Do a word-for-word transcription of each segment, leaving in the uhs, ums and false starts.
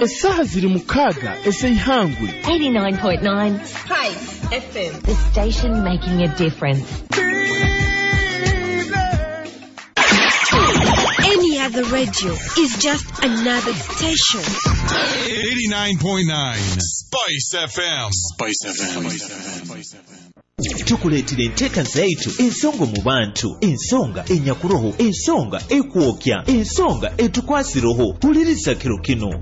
Essaaha ziri mukaaga ez'eihangwe. eighty-nine point nine Spice F M. The station making a difference. Any other radio is just another station. eighty-nine point nine Spice F M. Spice F M. Tukuleetera enteeka zaitu, ensonga mu bantu, ensonga enyakuroho, ensonga ekwokya, ensonga etukwasiroho. Huliriza kiro kino.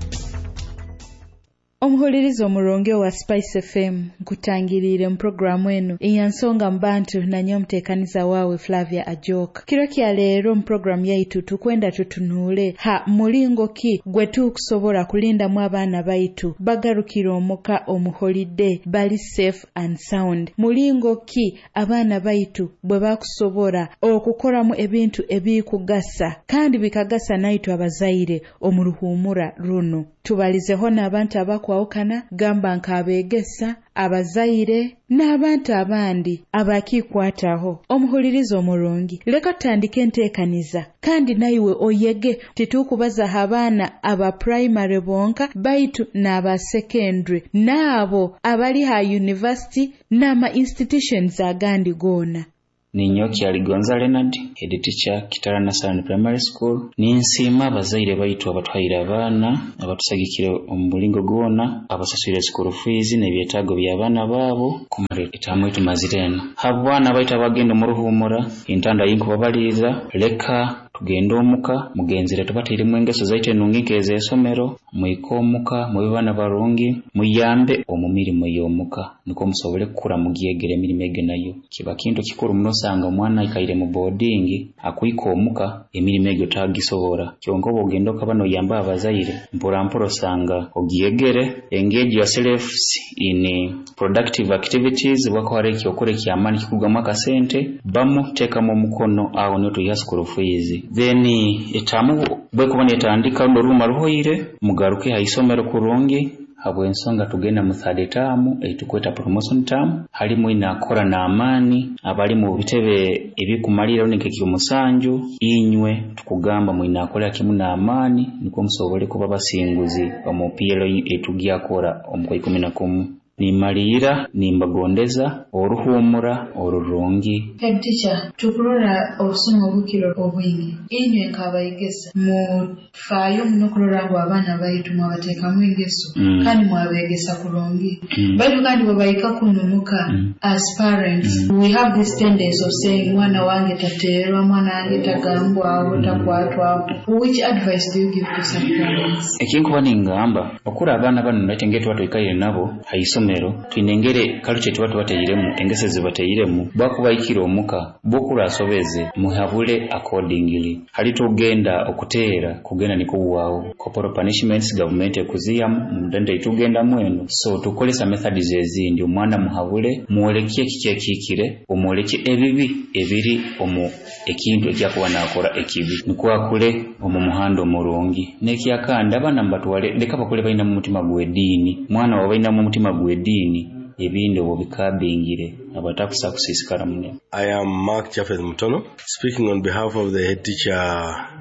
Omuhuliriza omurungi owa Spice F M, nkutangiriire mu puroguramu enu eya Nsonga mu Bantu, nanye omuteekaniza waawe Flavia Ajoka. Kiro kya leero mu puroguramu yaitu tukwenda tutunuule ha mulingo ki gwe tukusobola kulindamu abaana baitu bagarukire omuka omu holiday bali safe and sound. Mulingo ki abaana baitu bwe bakusobola okukoramu ebintu ebikugasa kandi bikagasa naitu abazaire omu ruhumura runo. Tubalizeho n'abantu abakwawukana, gamba nk'abeegesa, abazaire n'abantu abandi abakikwataho. Omuhuliriza omurungi, leka tutandike enteekaniza kandi naiwe oyege. Titukubazaho abaana aba primary bonka, baitu n'aba secondary n'abo abali ha university n'ama institutions agandi goona. Ninyoki Aligonza Leonard, head teacher, Kitara Nursery Primary School. Ninsiima abazaire baitu abatuhaire abaana, abatusagikire omu bulingo gwona, abasaswire school fees n'ebyetaago by'abaana baabo kumara etamu etumazire eno. Habwana baitu abagenda omu ruhumura, entanda yinkubabaliiza, leka tugende omuka mugenzere tubateiremu engeso zaitu enungi nk'ez'esomero. Mwike omuka mube baana barungi, muyambe omu mirimo y'omuka nikwo musobole kukura mugyegere emirimo egyo. Nayo kiba kintu kikuru muno. Osanga omwana aikaire mu boarding, akwika omuka emirimo egyo tagisobora, kyonka oba ogenda okaba noyamba abazaire mpora mpora osanga ogyegere. Engage yourselves in productive activities. Bwako ekyokora ekyamaani kikurugamu akasente, bamu teekamu omukono aho niho tuiha school fees. Then etamu bwekuba netandika runo oruruma ruhoire, mugaruke ha isomero kurungi, habw'ensonga tugenda mu third term eitukweta promotion term. Halimu inakora n'amaani abali mu bitebe ebikumalira rundi nk'ekyomusanju. Inywe tukugamba mwinakolera kimu n'amaani nikwo musobole kuba basinguzi omu P L etugyakora omu kwa ikumi na kumu. Nimaliira nimbagondeza oruhumura orurungi. Head teacher, tukurora obusuma obukiro obwingi. Inywe nk'abaigesa mufaayo muno kurora ngu abaana baitu mwabateekamu engeso Mm. kandi mwabegesa kurungi. Mm. Baitu kandi bwe bahika kuno muka, Mm. as parents we have this tendency of saying, "Mwana wange tateerwa, mwana wange tagambwaho, takwatwaho." Which advice do you give to some parents? Ekinkuba ningamba okura abaana bano naite ngeri tuba twikaire nabo ha isomero, twine engeri culture tuba tubateiremu, engeso zibateiremu. Bwakubaikira omuka bwokura asobeze, muhabule accordingly. Hali tugenda okuteera kugenda nikuwawo corporal punishments, government ekuziyamu mudende itugendamu eno, so tukolesa methods ezindi. Omwana muhabule, mwoleke kiki ekikire, omwoleke ebibi ebiri omu ekintu ekyakuba nakora ekibi, nikwo akule omu muhanda omurungi. N'ekyakandi, abaana mubatwale, leka bakule balina mu mutima gw'ediini. Mwana wa balina mu mutima gw'ediini, ebindi obwo bikabingire abatakusa kusiisikara munene. I am Mark Japheth Mutono, speaking on behalf of the head teacher,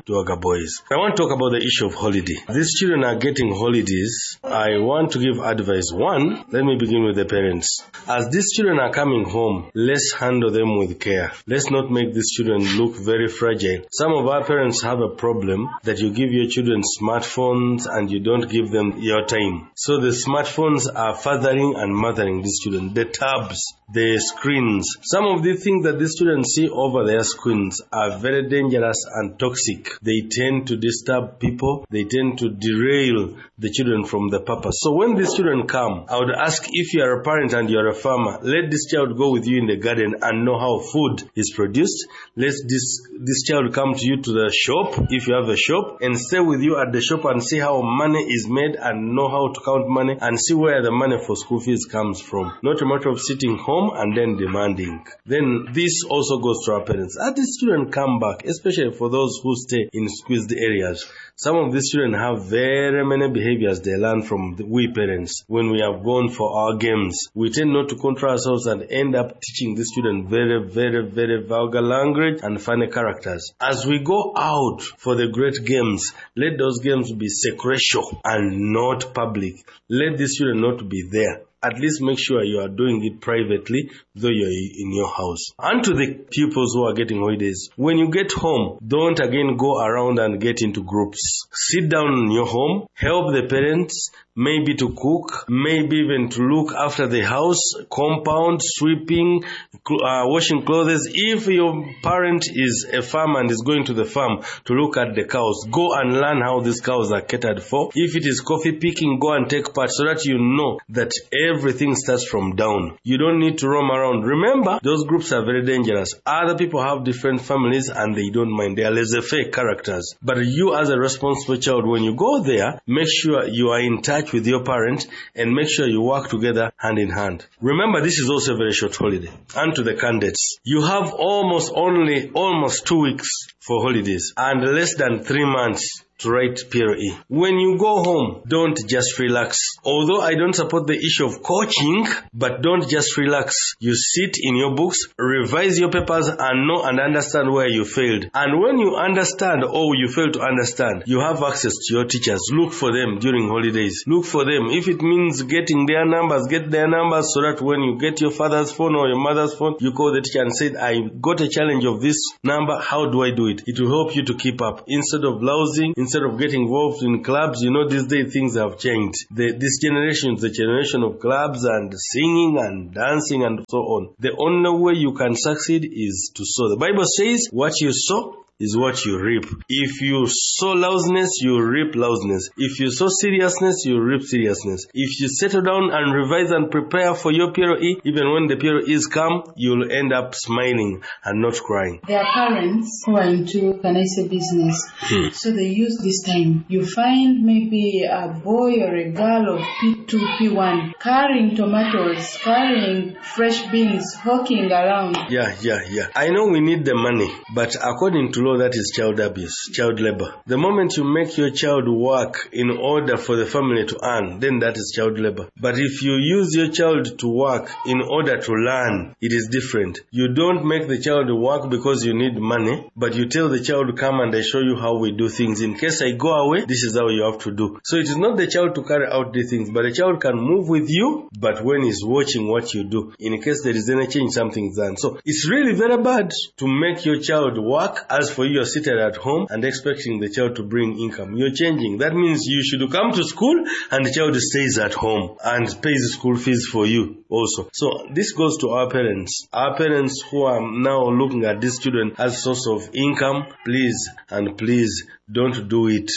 Duaga Boys. I want to talk about the issue of holiday. These children are getting holidays. I want to give advice. One, let me begin with the parents. As these children are coming home, let's handle them with care. Let's not make these children look very fragile. Some of our parents have a problem that you give your children smartphones and you don't give them your time. So the smartphones are fathering and mothering these children. The tabs, the screens. Some of the things that these children see over their screens are very dangerous and toxic. They tend to disturb people. They tend to derail the children from the purpose. So when these children come, I would ask, if you are a parent and you are a farmer, let this child go with you in the garden and know how food is produced. Let this, this child come to you to the shop, if you have a shop, and stay with you at the shop and see how money is made and know how to count money and see where the money for school fees comes from. Not a matter of sitting home and and then demanding. Then this also goes to our parents. As these children come back, especially for those who stay in squeezed areas, some of these children have very many behaviors they learn from the, we parents. When we have gone for our games, we tend not to control ourselves and end up teaching these children very, very, very vulgar language and funny characters. As we go out for the great games, let those games be secretional and not public. Let these children not be there. At least make sure you are doing it privately, though you're in your house. And to the pupils who are getting holidays, when you get home, don't again go around and get into groups. Sit down in your home, help the parents, maybe to cook, maybe even to look after the house, compound, sweeping, uh, washing clothes. If your parent is a farmer and is going to the farm to look at the cows, go and learn how these cows are catered for. If it is coffee picking, go and take part so that you know that everything starts from down. You don't need to roam around. Remember, those groups are very dangerous. Other people have different families and they don't mind. They are laissez-faire characters. But you as a responsible child, when you go there, make sure you are in touch with your parent and make sure you work together hand in hand. Remember, this is also a very short holiday. And to the candidates, you have almost only almost two weeks for holidays and less than three months to write P L E. When you go home, don't just relax. Although I don't support the issue of coaching, but don't just relax. You sit in your books, revise your papers, and know and understand where you failed. And when you understand or you fail to understand, you have access to your teachers. Look for them during holidays. Look for them. If it means getting their numbers, get their numbers so that when you get your father's phone or your mother's phone, you call the teacher and say, I got a challenge of this number. How do I do it? It will help you to keep up. Instead of lousing, instead of getting involved in clubs, you know, these days things have changed. The, this generation is the generation of clubs and singing and dancing and so on. The only way you can succeed is to sow. The Bible says, what you sow is what you reap. If you sow lousiness, you reap lousiness. If you sow seriousness, you reap seriousness. If you settle down and revise and prepare for your P L E, even when the P L Es come, you'll end up smiling and not crying. There are parents who are into, can I say, business. Hmm. So they use this time. You find maybe a boy or a girl of P two, P one, carrying tomatoes, carrying fresh beans, hawking around. Yeah, yeah, yeah. I know we need the money, but according to law, that is child abuse, child labor. The moment you make your child work in order for the family to earn, then that is child labor. But if you use your child to work in order to learn, it is different. You don't make the child work because you need money, but you tell the child, come and I show you how we do things. In case I go away, this is how you have to do. So it is not the child to carry out the things, but the child can move with you, but when he's watching what you do, in case there is any change, something is done. So it's really very bad to make your child work as for you are seated at home and expecting the child to bring income. You're changing. That means you should come to school and the child stays at home and pays school fees for you also. So this goes to our parents. Our parents who are now looking at these children as source of income, please and please don't do it.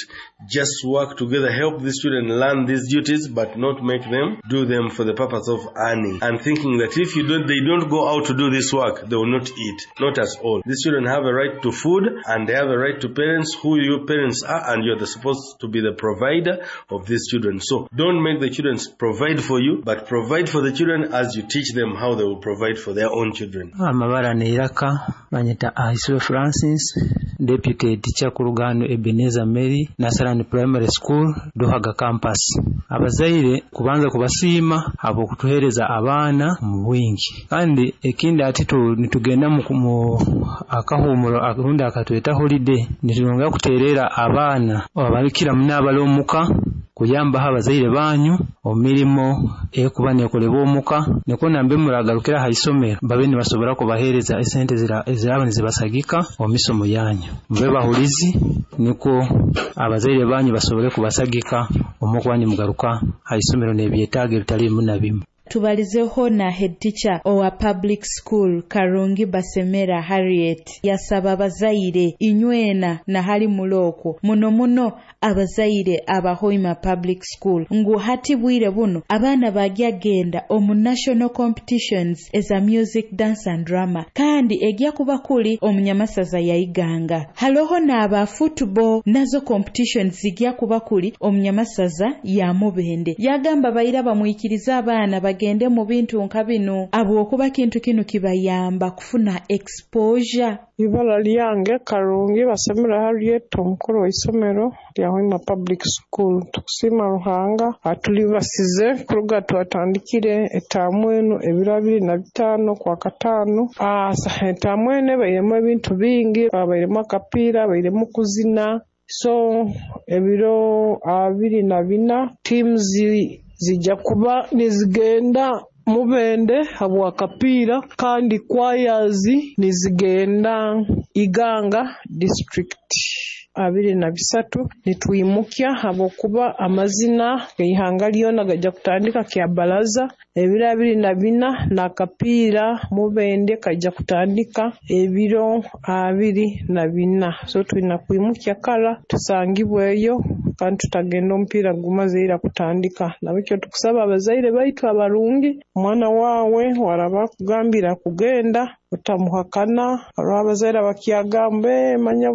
Just work together, help these children learn these duties, but not make them do them for the purpose of earning and thinking that if you don't, they don't go out to do this work, they will not eat. Not at all. These children have a right to food and they have a right to parents, who your parents are, and you're supposed to be the provider of these children. So don't make the children provide for you, but provide for the children as you teach them how they will provide for their own children. Amabara neiraka banyeta Ahiswe Francis, Deputy Teacher Kurugano Ebenezer Mary, Nasarani Primary School, Duhaga Campus. Abazaire kubanza kubasiima abo kutuhereza abaana mu bwingi. Kandi ekindi ati nitugenda mu akahumuro arundi akatweta holiday, nitulonga kuterera abaana abalikira munabalo omuka kuyamba abazaire banyu omirimo ekuba nekolebwa omuka niko nambe muragarukira ha isomero babe nibasobora kubahereza esente zira eziraba nizibasagika omisomo yanyu mbe bahulizi niko abazaire banyu basobole kubasagika omukwani mugaruka ha isomero n'ebyetaago ebitali na bimu. Tubalizeho na head teacher owa public school Karungi Basemera Harriet yasaba abazaire inywena na hali muloko muno muno abazaire abahoima public school ngu hati bwire buno abaana bagya genda omu national competitions eza music, dance and drama kandi egya kuba kuli omunyamasaza yaiganga. Haloho n'aba football nazo competitions zigya kuba kuli omunyamasaza ya Mubende. Yagamba bayira bamwikiriza abaana bagende mu bintu nka binu abwokuba kintu kinu kibayamba kufuna exposure. Ibara lyange Karungi Basemera Harriet, omukuru w'isomero lya Hoima Public School. Tukusiima Ruhanga atulibasize kuruga twatandikire etaamu enu ebiro abiri na bitaano kwa kataano. Etaamu enu ebairemu ebintu bingi, abairemu akapiira, abairemu kuzina. So ebiro abiri na bina teams zijja kuba nizigenda Mubende habwakapiira, kandi kwayazi nizigenda Iganga district. Abiri na bisatu nitwimukya habwokuba amazina g'eihanga lyona gajja kutandika Kyabalaza. Ebiro abiri na bina n'akapiira Mubende kajja kutandika ebiro abiri na bina. So twina kwimukya kara tusangibweyo kandi tutagenda omupiira gumaze ira kutandika. Nabekyo tukusaba abazaire baitu abarungi, omwana wawe waraba kugambira kugenda otamuhakana. Hariho abazaire abakyagamba manya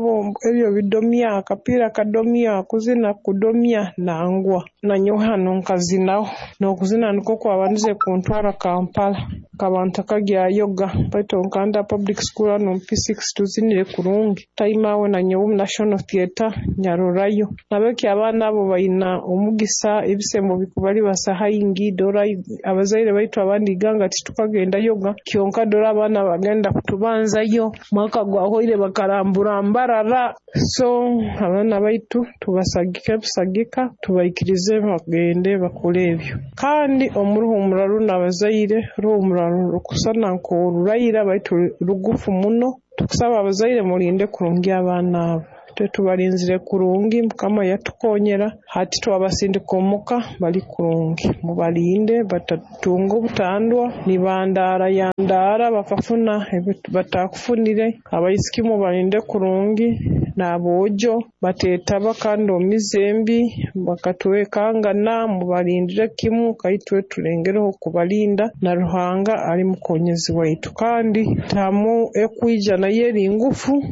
ebyo bidomya, akapiira kadomya, kuzina kudomya, nangwa nanyowe hano nkazinaho n'okuzina nikwo kwabandize kuntwara Kampala nkaba ntakagyayoga, baitu nkanda public school hano P six tuzinire kurungi time awe nanyowe omu National Theatre nyarorayo. Nabekyo abaana abo baina omugisa ebisembo bikubali basa haingi dora abazaire baitu abandi iganga titukagenda yoga kyonka dora abaana bagenda kutubanzayo mwaka gwahoire bakarambura mbarara. So abaana baitu tubasagike busagika tubaikirize bagende bakole ebyo. Kandi omuruhumura runo abazaire ruhumura rukusana nk'orurayira baitu rugufu muno. Tukusaba abazaire mulinde kurungi abaana abo, tubalinzire kurungi, Mukama yatukonyera hati twabasindika omuka bali kurungi. Mubalinde batatunga obutandwa nibandara yandara bakafuna batakufunire. Abaisiki mubalinde kurungi n'aboojo batetaba kandi omizembi bakatwekangana, mubalindire kimu kaitwe tulengereho kubalinda na Ruhanga ali mukonyezi waitu. Kandi tamu ekwija nayo eri ngufu.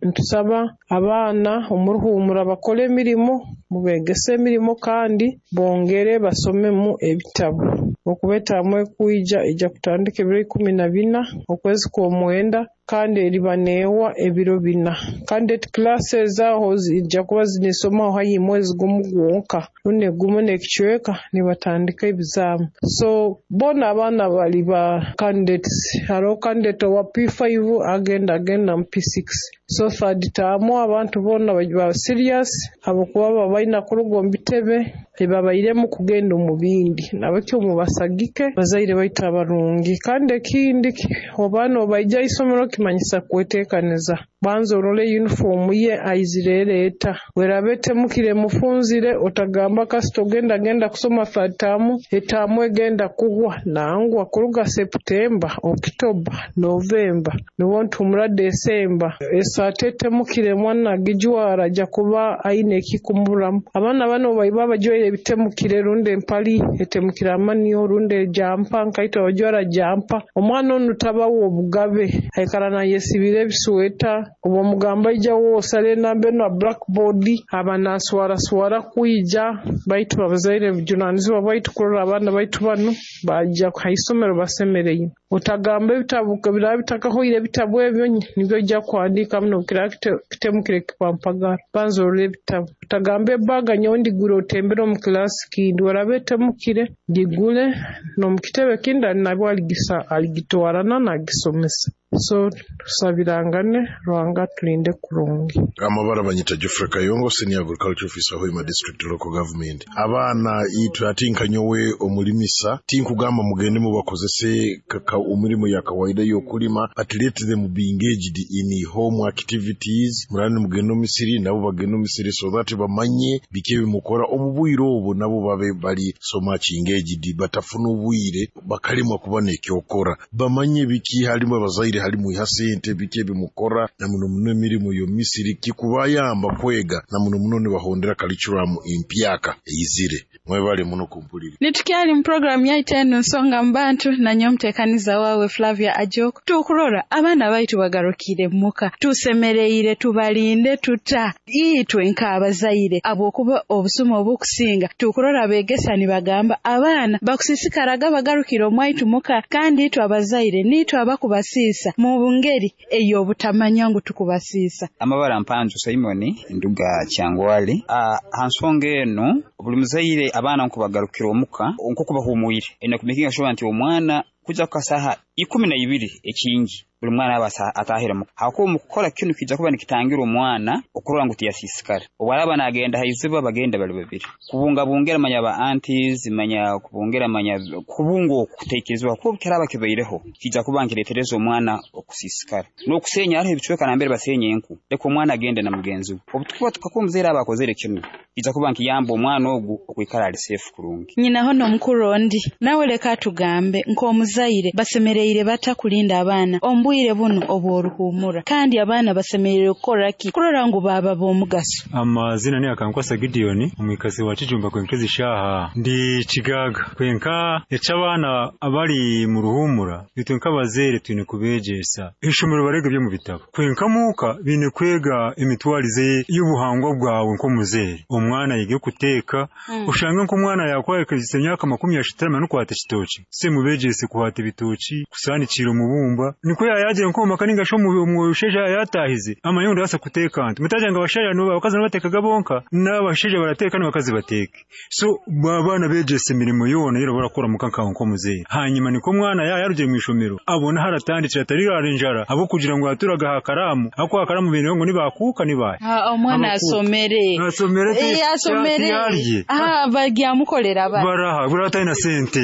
Ntusaba abaana omuruhumura bakole emirimo, mubegese emirimo kandi bongere basomemu ebitabo. Okuba etaamu ekwija ejja kutandika ebiro ikumi na bina okwezi kw'omwenda kandi eriba neewa ebiro bina. Kandi classes aho zijja kuba zinisomaho hayi mwezi gumu gwonka rundi gumu n'ekicweka nibatandika ebizaamu. So bona abaana bali ba candidates, hariho candidate owa P five agenda agenda mu P six. So third term abantu bona ba serious habwokuba baba baina kuruga omu bitebe ebabairemu kugenda omu bindi. Nabekyo mubasagike bazaire baitu abarungi. Kandi ekindi obaana obaija isomero kimanyisa kweteekaniza, banza orole uniform ye aizire eta, werabe etemukire mufunzire, otagamba kasita ogenda genda kusoma third term etaamu egenda kuhwa. Nangwa kuruga September, October, November niwo ntumura December esaati etemukire mwana agijwara ajja kuba aine ekikumuramu. Abaana bano baiba bajwaire ebitemukire rundi empali etemukire amaniyo rundi ejampa nkaitwe abajwara jampa, omwana onu tabawo obugabe aikara nayesibira ebisweta. Obwo mugamba ija wosale enamba enu blackboard aba naswaraswara kwija. Baitu abazaire bujunanizibwa bwaitu kurora abaana baitu banu bajja haisomero basemereire. Otagamba ebitabu biraba bitakahoire ebitabu ebyo nibyo ojja kuhandiika muno kiraba kitemukire kipampagara, banza orole ebitabu. Otagamba ebaga nyowe ndigure otembere omu kilasi kindi, warabe etemukire gigule n'omu kitebe kindi nabwo aligisa aligitwarana nagisomesa. So tusabirangane Ruhanga tulinde kurungi. Amabara banyita Geoffrey Kayongo, senior agriculture officer Hoima district local government. Abaana itwe ati nkanyowe omulimisa tinkugamba mugende mubakozese kaka omulimo ya kawaida y'okulima, but let them be engaged in home activities. Murani mugende omisiri nabo bagende omisiri so that bamanye biki ebimukora omu bwire obwo, nabo babe bali so much engaged, batafuna obwire bakalimwa kuba n'ekyokora, bamanye biki halimu abazaire halimu iha sente biki ebimukora na muno muno emirimu y'omisiri kikubayamba kwega na muno muno nibahondera curriculum empyaka eyizire. Mwebale muno kumpulira. Nitukyali mu programu yaitu eno Nsonga Mubantu, nanye omuteekaniza waawe Flavia Ajok. Tukurora abaana baitu bagarukire muka, tusemereire tubalinde tuta itwe nk'abazaire, abwokuba obusuma obukusinga tukurora begesa nibagamba abaana bakusisikaraga bagarukire omwaitu muka, kandi itwe abazaire nitwe abakubasiisa mu ngeri ey'obutamanya ngu tukubasiisa. Amabara Mpanzu Simoni nduga Kyangwali. Ah, hansonga eno buli muzaire abaana nkubagarukira omuka nko bahumwire ena kumekinga sure nti omwana kuja kukasaha ikumi na ibiri ekingi buli mwana aba atahira muka. Hakuba mukukola kinu kijja kuba nikitangira omwana okurora ngu tiyasisikara. Obwaraba nagenda haiziba bagenda bali babiri. Kubunga bungera manya ba aunties, manya kubungera manya kubunga okutekerezwa kuba kiraba kibaireho kijja kuba nkiretereza omwana okusisikara. N'okusenya hariho ebicweka nambere basenya enku. Leka omwana agende na mugenzi we. Obutukuba tukakuba omuzaire aba akozere kinu kijja kuba nkiyamba omwana ogu okwikara ali safe kurungi. Nyina hono mukuru ondi nawe leka tugambe nk'omuzaire basemereire batakulinda abaana ombwire buno obw'oruhumura, kandi abaana basemereire kukora ki kurora ngu baba b'omugaso? Amazina ni Akankwasa Gideon, omwikazi wa Kijumba kwenkezi shaha ndi Kigaga. Kwenka eky'abaana abali mu ruhumura itwe nk'abazeire twine kubegyesa ishomero barege byo mu bitabo, kwenka muka bine kwega emitwarize y'ubuhangwa bwawe nk'omuzeire. Omwana yige kuteeka, mm. Ushange nk'omwana yakwayekezisa emyaka makumi ashatu n'okwata ekitoki, se mubegyese kuhata ebitoki kusanikira omubumba niko yayaje nkoma kaninga sho mu musheja yatahize amayondo asa kuteka nti mutajanga abashaja no abakazi nabatekaga bonka n'abasheja barateka n'abakazi bateke. So babana begese imirimo yona yero barakora mukanka nko muzeyi. Hanyuma niko mwana ya yaruje mu ishomero abona haratandikira atari arinjara abo kugira ngo yaturaga hakaramu ako hakaramu bintu ngo nibakuka nibaye ha omwana asomere asomere asomere ah bagyamukolera ba baraha bura na sente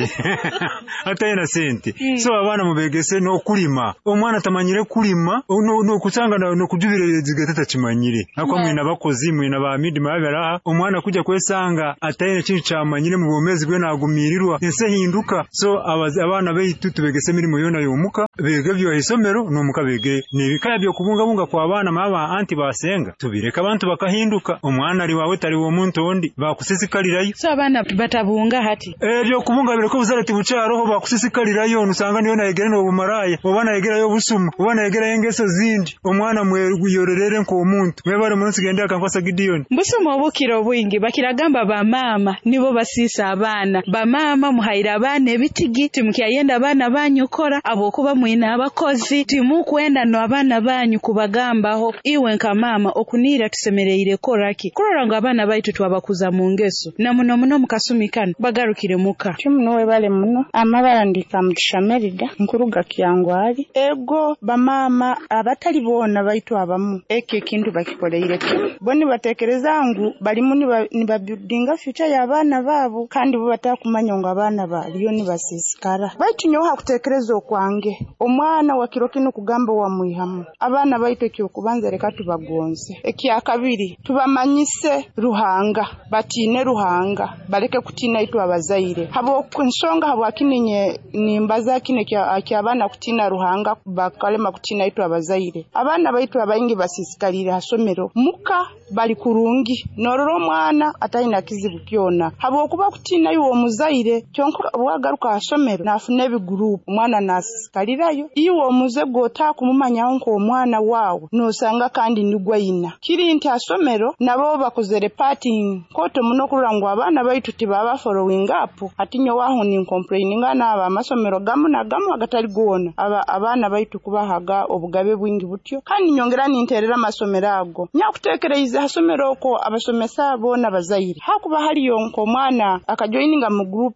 atayina sente. So abana mubegese no kulima omwana tamanyire kulima no no kusanga no kujubire zigatata kimanyire akwa mwina bakozi mwina ba midima babaraha omwana kujya kwesanga atayina kintu cyamanyire mu bomezi gwe nagumirirwa ense hinduka. So abana beitu tubegese mirimo yona yomuka bege byo isomero no muka bege nibikaya byo kubungabunga kwa abana maba anti basenga tubireka abantu bakahinduka omwana ari wawe tari wo muntu ondi bakusisikalirayo. So abana batabunga hati ebyo kubunga bireko buzarati bucaroho bakusisikalirayo nusanga niyo nayegere no bumaraya obana yegerayo busuma obana yegerayo engeso zindi omwana mweyorerere nko omuntu mwebare munsi gende Akankwasa Gideon. Mbusuma obukiro obwingi bakiragamba ba mama nibo basisa abana ba mama muhaira abana ebitigi timukyayenda abana banyu kora abokuba mwina abakozi timukwenda no abana banyu kubagambaho iwe nka mama okunira tusemereire koraki kurora ngo abana baitu twabakuza mu ngeso na muno muno mukasumikana bagarukire muka. Kimuno webale muno amabara ndika mutishamerida nkuruga Kyangwali ego bamama abatali bona baitu abamu eke kintu bakikoleire kimu boni batekereza ngu balimu nibabuildinga future y'abaana baabo kandi bo batakumanya ngo abaana baliyo nibasisikara. Baitu nyowe hakutekereza okwange omwana wa kiro kino kugamba wa mwihamu abaana baitu ekyokubanza reka tubagonze, ekyakabiri tubamanyise Ruhanga batine Ruhanga baleke kutina itu abazaire habo nsonga habo akininye nimbaza kine kya abaana kutina Ruhanga bakalema kutina itu abazaire. Abaana baitu abaingi basisikalira hasomero muka bali kurungi nororo omwana atalina kizibu kyona habo okuba kutina yuwo omuzaire kyonka bwagaruka hasomero nafuna ebigroup omwana nasisikalirayo iwe omuze gota kumumanya nko omwana wawe nosanga kandi nigwayina kiri nti asomero nabo bakozere party koto muno kurura ngo abaana baitu tibaba following up atinyo waho ni complaining n'aba amasomero gamu na gamu agatali gona aba abaana baitu kubahaga obugabe bwingi butyo kandi nyongera ninterera amasomero ago nyakutekereza hasomero oko abasomesa bona bazaire hakuba haliyo nko omwana akajoininga mu group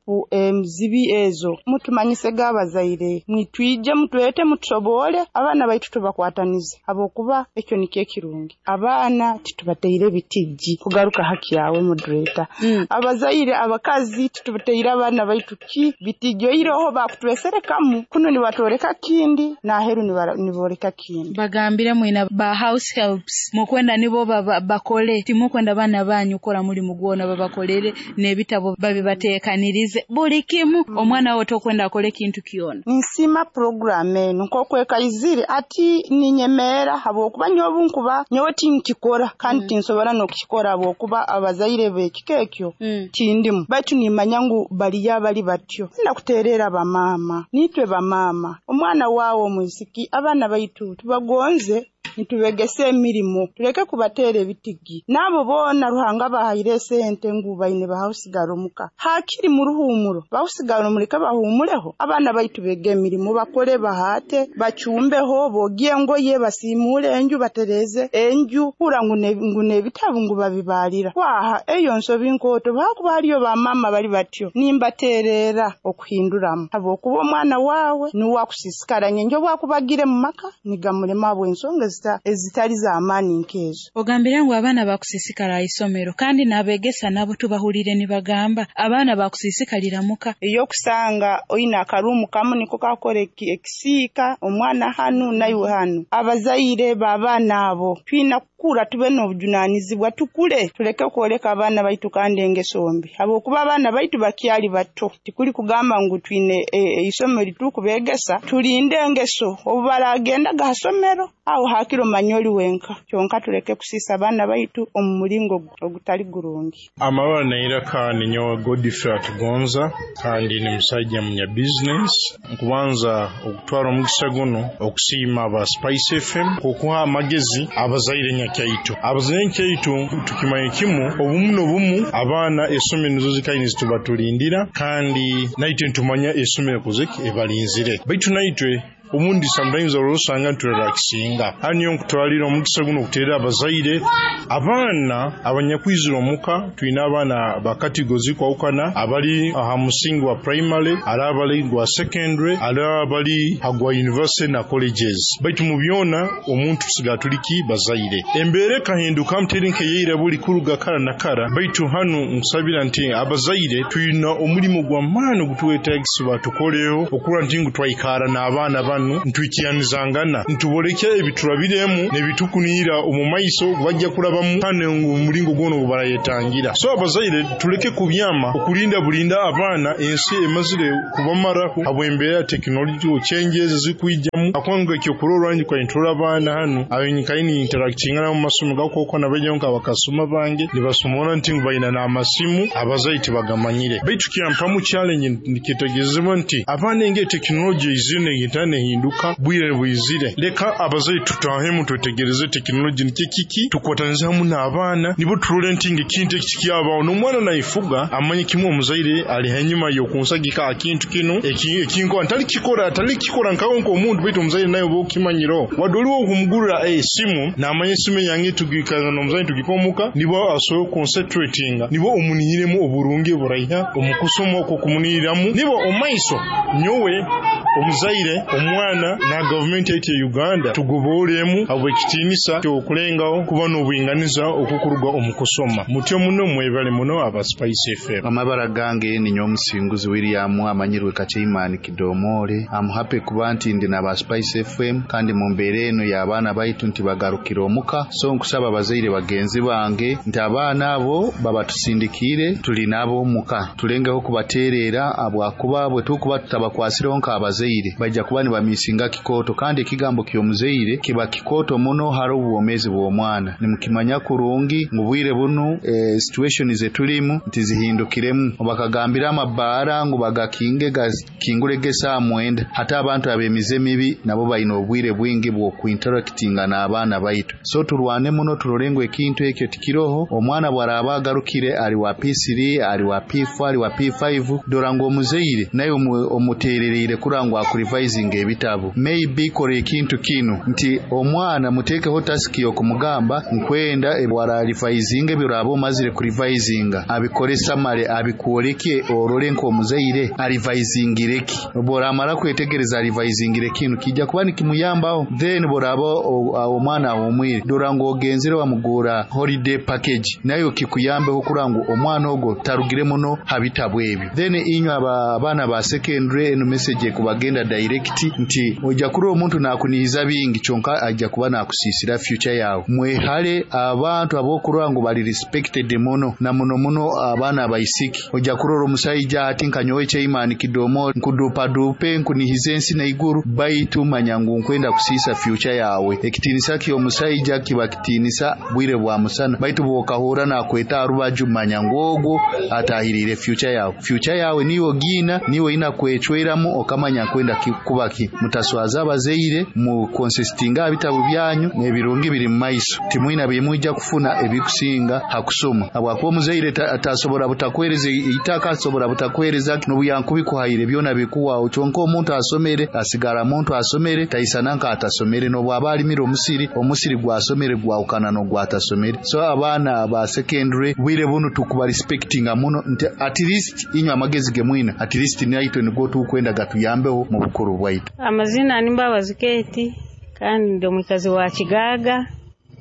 mzibi ezo mutumanyise gabazaire mwitwije mutwete mutusobole abaana baitu tubakwatanize abokuba ekyo nikye kirungi abaana titubateire bitiji kugaruka haki yawe moderator. Mm. Abazaire abakazi titubateire abaana baitu ki bitiji iroho Nibatweserekamu kuno nibatworeka kindi n'aheru niboreka kindi. Bagambire mwina ba house helps mukwenda nibo bakole timukwenda baana banyu kora mulimu gwona babakolere n'ebitabo babibateekanirize buli kimu mm. Omwana wo tokwenda akole kintu kyona. Nsima program eno nkokwekaizire ati ninyemeera habwokuba nyowe nkuba nyowe tinkikora kandi mm. tinsobora n'okukikora habwokuba abazaire b'ekika ekyo mm. tindimu baitu nimanya ngu baliyo abali batyo. Nakuteerera bamaama nitwe bamaama omwana waawe omwisiki abaana baitu tubagonze nitubegese emirimo tuleke kubateera ebitigi nabo boona Ruhanga bahaire sente ngu baine bahausigara omuka hakiri mu ruhumuro bahusigara omuleke bahumuleho abaana baitu bege emirimo bakole bahate bacumbeho bogie engoye basimule enju batereze enju kura ngu n'ebitabu ngu babibalira kwaha eyo nsobi nkoto bakuba haliyo bamama bali batyo nimbateerera okuhinduramu habwokuba omwana waawe niwe akusisikara nyenjo bwakubagire mu maka nigamulema habw'ensonga ezitali z'amaani nkezo. Ogambire ngu abaana bakusisikara isomero kandi n'abegesa nabo tubahulire nibagamba abaana bakusisikalira muka. Eyokusanga oyina akarumu kamu niko kakora ekisiika omwana hanu naiwe hanu abazaire b'abaana abo twina kukura tube n'obujunanizibwa tukule tuleke kwoleka abaana baitu kandi engeso mbi habwokuba abaana baitu bakyali bato tikuli kugamba ngu twine isomero litukubegesa tulinde engeso obu baragendaga hasomero aho hakiro manyoli wenka kyonka tuleke kusisa abaana baitu omu mulingo ogutali gurungi. Amabara nairaka ninyowe Godfrey Atugonza kandi ni musajja munya business. Nkubanza okutwara omugisa guno okusiima aba Spice F M okuha amagezi abazaire nyakyaitu. Abazaire nyakyaitu tukimanye kimu obumu n'obumu abaana esomero nizo zikaine zitubatulindira kandi naitwe ntumanya esomero kozeki ebalinzire baitu naitwe omundi sometimes olwosanga nturelaxinga. Haniyo nkutwalira omukisa guno okuteera abazaire abaana abanyakwizira omuka. Twina abaana bakategozi kwawukana abali aha musingi wa primary, ari abali gwa secondary, ari abali hagwa university na colleges. Baitu mu byona omuntu tusigala tuliki bazaire. Embeera ekahinduka muteri nkeyeira buli kuruga kara na kara. Baitu hanu nkusabira nti abazaire twina omulimu gw'amaani ogutuwetaagisa tukoleho okura nti ngu twaikara n'abaana banu ntwikiyanizangana ntuboleke ebiturabiremu nebitukunira omu maiso bajja kulabamu kandi omulingo gwono barayetangira. So abazaire tuleke kubyama okulinda bulinda abaana ensi emazire kubamaraho habw'embeera ya technology changes zikwijamu akwanga ekyokurorwa nji kwaintura abaana hanu abenkaini interactinga mu masomo gakoko nabajja nka bakasoma bange nibasomona nti ngu bayina n'amasimu abazaire tibagamanyire. Baitu kyampamu challenge nikitegerezebwa nti abaana enge technology izine ngitane hinduka bwire bwizire leka abazaire tutahemu twetegereze tekinoloji niki kiki tukwatanize hamu n'abaana nibo turole nti ngekintu ekikyabaho n'omwana naifuga amanye kimwe omuzaire ali hanyuma y'okunsagika akintu kino ekinko atali kikora atali kikora nkawo nk'omuntu baitu omuzaire nayo bokimanyiro wadde oliwo okumugurira esimu n'amanya esimu yange tugikana n'omuzaire tugikomuka nibo asobola concentratinga nibo omunihiremu oburungi buraiha omukusoma okwo kumunihiramu nibo omaiso nyowe omuzaire omwana na gavumenti yaitu ya Uganda tugoboolemu habw'ekitiinisa ky'okulengaho kuba n'obwinganiza okukuruga omu kusoma. Mutyo muno mwebale muno aba Spice F M. Amabara gange ninyowe Musinguzi William amanyirwe Kacheimani Kidomole. I'm happy kuba nti ndi n'aba Spice F M kandi mu mbeera eno y'abaana baitu nti bagarukira omuka. So nkusaba abazaire bagenzi bange nti abaana abo babatusindikiire tuli nabo omuka tulengeho kubateerera abwakuba bwe tukuba tutabakwasireho nk'abazaire bajja kuba nibamisinga kikoto kandi ekigambo ky'omuzaire kiba kikoto muno hari obwomeezi bw'omwana. Nimukimanya kurungi mu bwire bunu e, situation zetulimu nti zihindukiremu bakagambira amabaara ngu bagakinge gakingule gesa mwenda hata abantu abemize mibi nabo bayina obwire bwingi bw'okuinteractinga n'abaana baitu. So turwane muno turolengo ekintu ekyo tikiroho omwana bwaraba agarukire ali wa P three ali wa P four ali wa P five dora ngu omuzaire naye omuteerereire kurangwa akurivisinga ebitabu. Maybe kora ekintu kinu nti omwana mutekeho task y'okumugamba nkwenda ebwararivayizinga ebiraba omazire kurivayizinga abikore samare abikwoleke orole nk'omuzaire arivayizingireki. Boramara kwetegereza arivayizingire kinu kijja kuba nikimuyambaho. Then boraba omwana ahumwire dora ngo ogenzere wamugura holiday package nayo kikuyambeho kurango omwana ogo tarugire muno habitabu ebyo. Then inywe abaana ba secondary eno message kubagenda direct nti ojja kuri omuntu nakunihiza bingi kyonka ajja kuba nakusisira future yawe. Mwehale abantu abokurango bali respected muno na muno muno abaana abaisiki. Ojja kurora omusajja ati nkanyowe chairman kidomo nkudupa dupe nkunihize ensi na iguru baitu manya ngu nkwenda kusisa future yawe. Ekitinisa kyo omusajja kiba kitinisa bwire bwa musana baitu bwokahura nakweta arubaju manya ngu ogwo atahirire future yawe. Future yawe niyo gina niwe ina kwechweramu okamanya kwenda kubaki. Mutaswaza abazeire mu consistinga ebitabo byanyu n'ebirungi biri mu maiso timwina bimujja kufuna ebikusinga hakusoma. Abwakuba omuzeire atasobora butakwereza itaka asobora butakwereza n'obuyankubi kuhaire byona bikuwa kyonka omuntu asomere asigara muntu asomere taisana nka atasomere n'obwaba alimira omusiri omusiri gwasomere gwawukana n'ogwatasomere. So abaana ba secondary bwire bunu tukuba respectinga muno nti at least inywa amagezi gemwina at least naitwe nigwo tukwenda gatuyambeho mu bukuru bwaitu. Amazina ni Mbabazi Keti kandi ndi omukazi wa Kigaga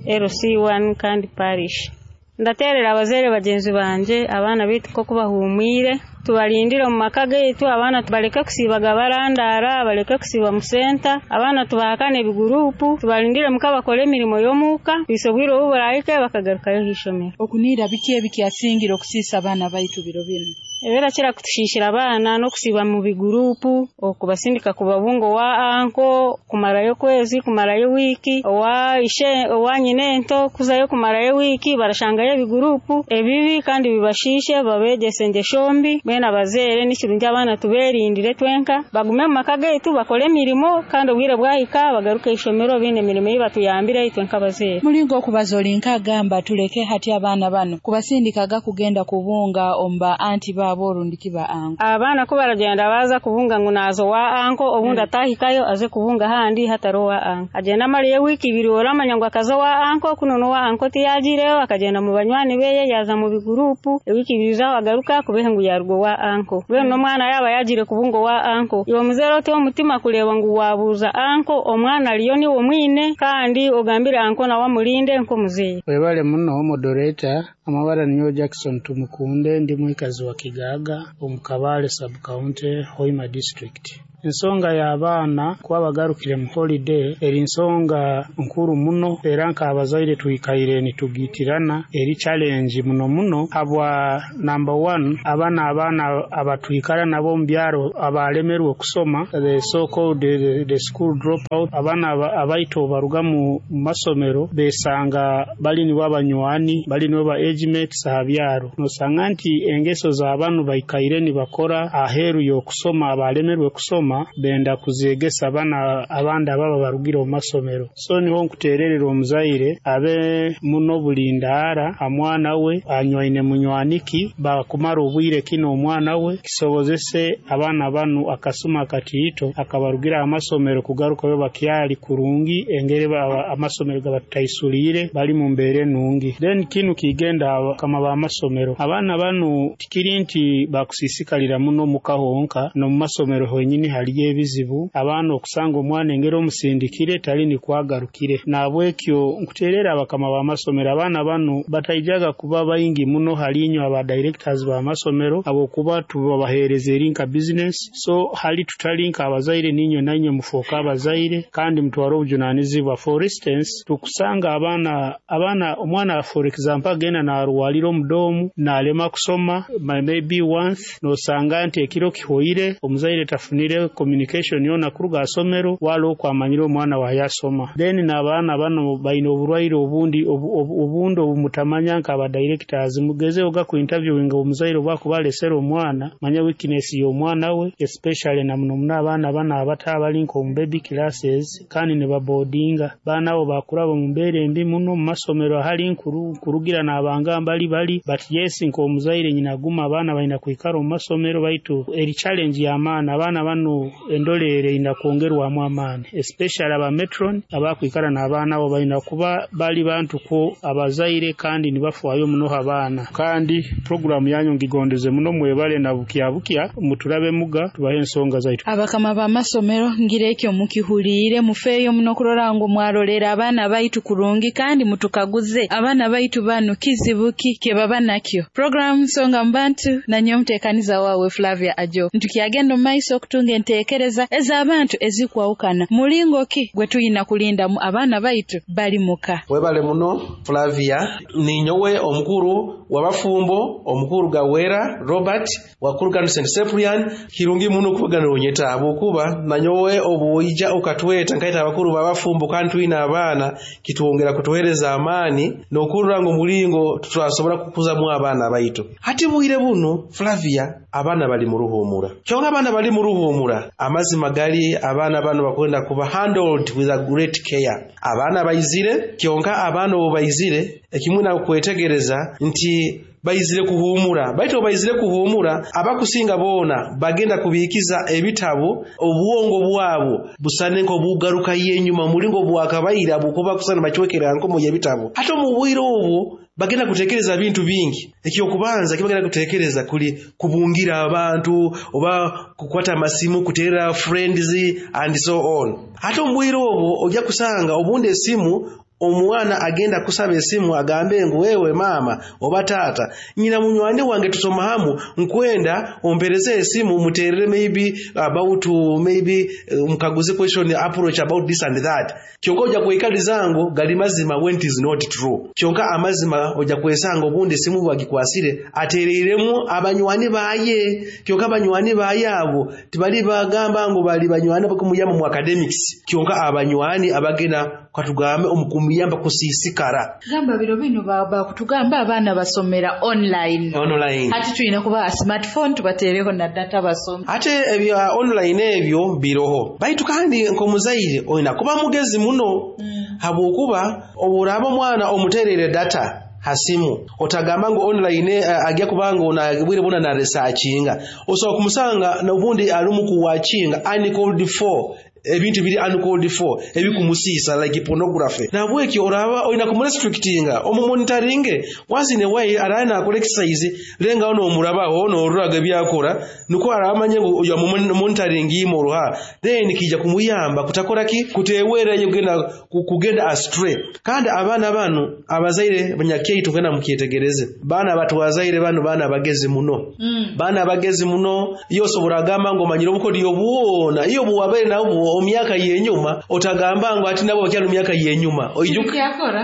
L C one kandi parish. Ndaterera abazeire bagenzi banje abaana bitu ko kubahumwire tubalindire mu maka gaitu abaana tubaleke kusibaga barandara baleke kusiba mu center abaana tubahakane ebigurupu tubalindire muka bakole emirimo y'omuka bisobwire obuburayike bakagarukayo hishomero. Okunira biki ebikyasingira okusisa abaana baitu biro bino? Ebera kira kutushishira abaana n'okusiba mu bigurupu okubasindika kubabungo wa anko kumarayo kwezi kumarayo wiki owa ishe owa nyinento kuzayo kumarayo wiki barashangayo ebigurupu ebibi kandi bibashishe babegese ngeshombi bena abazere n'ikirungi abaana tuberindire twenka bagume mu maka gaitu bakole emirimo kandi obwire bwahika bagaruke ishomero bine emirimo yibatuyambire itwenka abazere. Mulingo okubaza olinka agamba tuleke hati abaana bano kubasindikaga kugenda kubunga omba anti ba borundiki ba anko. Abaana ko baragenda baza kubunga ngo nazo wa anko obundi atahikayo aze kubunga handi hataro wa anko agenda amaliye wiki ibiri oramanya ngo akaza wa anko kuno no wa anko tiyagireyo akagenda mu banywani beye yaza mu bigurupu ewiki ibiri zaho agaruka kubehe ngo yarwo wa anko we no mwana yaba yagire kubungo wa anko iwo muzero te omutima kuleba ngo wabuza anko omwana aliyo ni omwine kandi ogambire anko na wamulinde nko muzeyi. Webale muno moderator amabara niyo Jackson Tumukunde ndi mwikazi wa Kigaga omukabale sub county Hoima district. Ensonga y'abaana kuba bagarukire mu holiday eri ensonga nkuru muno era nk'abazaire twikaire nitugitirana eri challenge muno muno habwa number one abaana abaana abatwikara nabo mu byaro abalemerwe okusoma the so called the, the school dropout abaana abaito baruga mu masomero besanga bali nibo abanywani bali nibo ba age mates aha byaro nosanga nti engeso z'abantu baikaire nibakora aheru y'okusoma abalemerwe kusoma benda kuzegesa abana abandi ababa barugire mu masomero. So niho nkutererera omuzaire abe muno bulindaara amwana we anywaine munywaniki bakumara obwire kino omwana we kisobozese abaana banu akasuma akatiito akabarugira amasomero kugarukayo bakyali kurungi engere amasomero gabataisulire bali mu mbeere nungi. Then kinu kigenda kama ba masomero abaana banu tikiri nti bakusisikalira muno mukahonka no mu masomero honyini haliyo ebizibu abaana okusanga omwana engeri omusindikire tali nikwagarukire. Nabwekyo nkuterera abakama b'amasomero abaana bano bataijaga kuba baingi muno halinyo aba directors b'amasomero abokuba tubabahereza eri nka business. So hali tutali nka abazaire ninyo nanyo mufoka abazaire kandi mutwara obujunanizibwa. For instance tukusanga abaana abaana omwana for example agenda narwalira omudomu nalema kusoma maybe once nosanga nti ekiro kihoire omuzaire tafunire communication yona kuruga asomero walo okwamanyira omwana wa yasoma. Then n'abaana bano baine oburwaire obundi obundi obumutamanya nka aba directors mugeze oga ku interviewing omuzaire obwakubalesera omwana manya weakness y'omwana we especially na muno muno abaana bana abatabali nko mu baby classes kandi ne babodinga baana abo bakuraba mu mbeere mbi muno mu masomero ahali nkuru kurugira n'abanga mbali bali but yes nko omuzaire nyina guma abaana balina kwikara mu masomero baitu eri challenge y'amaana abaana bano enu endolere ina kwongerwamu amaani, especially aba matron abakwikara n'abaana abo balina kuba bali bantu ko abazaire kandi nibafaayo muno abaana. Kandi programu yanyu ngigondeze muno, mwebale na bukya bukya muturabe muga tubahe ensonga zaitu. Abakama b'amasomero ngirekyo mukihuliire, mufeeyo muno kurora ngu mwarolera abaana baitu kurungi kandi mutukaguze abaana baitu banu kizibu ki kye baba nakyo. Program Nsonga Mbantu na nyowe muteekaniza wawe Flavia Ajo. Ntukyagenda omu maiso okutunga enteekereza ez'abantu ezikwawukana mulingo ki gwe tuyina kulindamu abaana baitu bali muka. Webale muno Flavia. Ninyowe omukuru w'abafumbo, omukuru Gawera Robert wakurugano Saint Cyprian. Kirungi muno kubaganira onyeta habwokuba nanyowe obuija ukatweta nkaita abakuru b'abafumbo kandi twina abaana, kitwongera kutuhereza amaani n'okurora ngu mulingo tutasobora kukuzamu abaana baitu. Hati bwire buno Flavia, abaana bali mu ruhumura. Kyonka abaana bali mu ruhumura, amazima gali abaana bano bakwenda kuba handled with a great care. Abaana baizire, kyonka abaana obu baizire ekimwe nakwetegereza nti baizire kuhumura, baitu obu baizire kuhumura abakusinga boona bagenda kubikiza ebitabo, obwongo bwabo busane nk'obugaruka yenyuma mulingo bwakabaira bukuba kusana bacwekera nkomo y'ebitabo. Hata omu bwire obwo bagenda kutekereza bintu bingi. Ekyokubanza kibagenda kutekereza kuli kubungira abantu oba kukwata amasimu, kutera friends and so on. Hata omu bwire obwo ojja kusanga obundi esimu, omwana agenda kusaba esimu agambe ngu wewe mama oba taata, nyina munywani wange tusoma hamu, nkwenda ompereze esimu muterere maybe about maybe mkaguze question approach about this and that. Kyonka ojja kwekaliza ngu gali mazima when it is not true. Kyonka amazima ojja kwesanga obundi esimu bagikwasire atereiremu abanywani baye. Kyonka abanywani baye abo tibali bagamba ngu bali banywani bakumuyamba mu academics, kyonka abanywani abagenda katugambe omukumuyamba kusiisikara. Gamba biro bino baba kutugamba abaana basomera online. Online. Hati tulina kubaha smartphone tubateereho na data basome. Ate ebya online ebyo biroho, baitu kandi nk'omuzaire olina kuba mugezi muno mm. habwokuba oburaba omwana omuterere data hasimu, otagamba ngu online uh, ajya kubanga ona bwire buna na researchinga, osobola kumusanga n'obundi alimu kuwatchinga uncalled for, ebintu biri uncalled for ebikumusiisa like pornography. Nabwekyo oraba olina kumurestrictinga, omumonitoringe once in a while, araba nakola exercise lenga ono omurabaho n'oruraga ebyakora, nukwo aramanye ngu oyo monitoring imoruha, then kija kumuyamba kutakora ki kutewera kugenda kugenda astray. Kandi abaana bano abazaire banyakeitu kugenda mukyetegereze, baana batwazaire bano baana bagezi muno mm. baana bagezi muno. Iyo osobora agamba ngu omanyire obukodyo bwona iyo buwabaire nabwo omyaka yenyuma, otagamba ngu ati nabo bakyali myaka yenyuma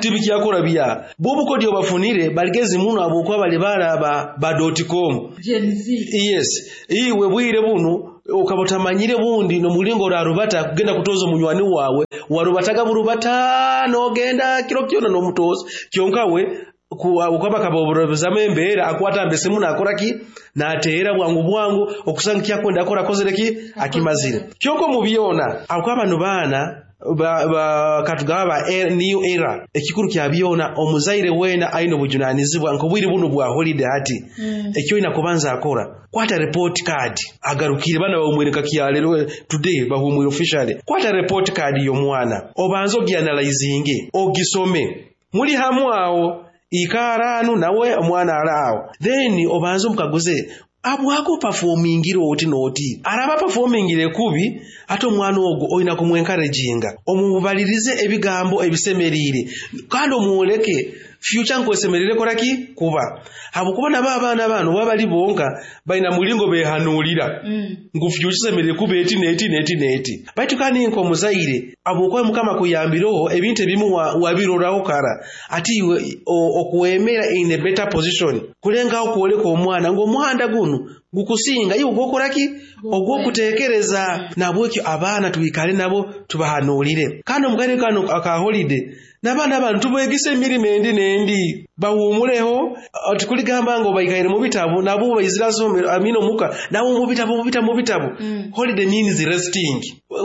tibikyakora bya bwobukodyo bafunire baligezi muno abokuba bali baraba ba dot com Gen Z. Yes, iwe bwire buno ukaba utamanyire bundi nomulingo orarubata kugenda kutoza omunywani wawe, warubataga burubata nogenda kiro kyona nomutoza, kyonka we ukaba kaboburobezamu embeera akwata mbesimu nakora ki nateera bwangu bwangu okusanga kyakwenda akora akozere ki akimazire. Kyonka mu byona ako abano baana ba, ba katugaba ba era, new era, ekikuru kya byona omuzaire wena aine obujunanizibwa nk'obwire buno bwa holiday hati mm. ekyo ina kubanza akora kwata report card agarukire bana bamwereka kyalero today bahumwire officially. Kwata report card y'omwana obanze ogianalyzinge ogisome muli hamu awo ikaranu nawe omwana alaawo, then obanze omukaguze abwako performingire oti noti araba performingire kubi. Ate omwana ogwo olina kumwencouraginga, omubalirize ebigambo ebisemerire kandi omwoleke future nkwesemerere koraki kuba, habwokuba nabo abaana bano baba bali bonka balina mulingo behanuulira mm. ngu future semerere kuba eti neti neti neti. Baitu kandi nk'omuzaire habwokuba Mukama kuyambireho ebintu ebimu wabiroraho kara, ati iwe okwemera in a better position kulengaho kwoleka omwana ngu omuhanda guno gukusinga iwe ogwokoraki ogwokutekereza. Nabwekyo abaana twikale nabo tubahanuulire, kandi omukaire kano aka holiday n'abaana bano tubegise emirimo endi n'endi bawumuleho. Tikuligamba ngo baikaire mu bitabo nabo baizira somero amino muka nabo mu bitabo mu bitabo mu bitabo mm. Holiday means resting.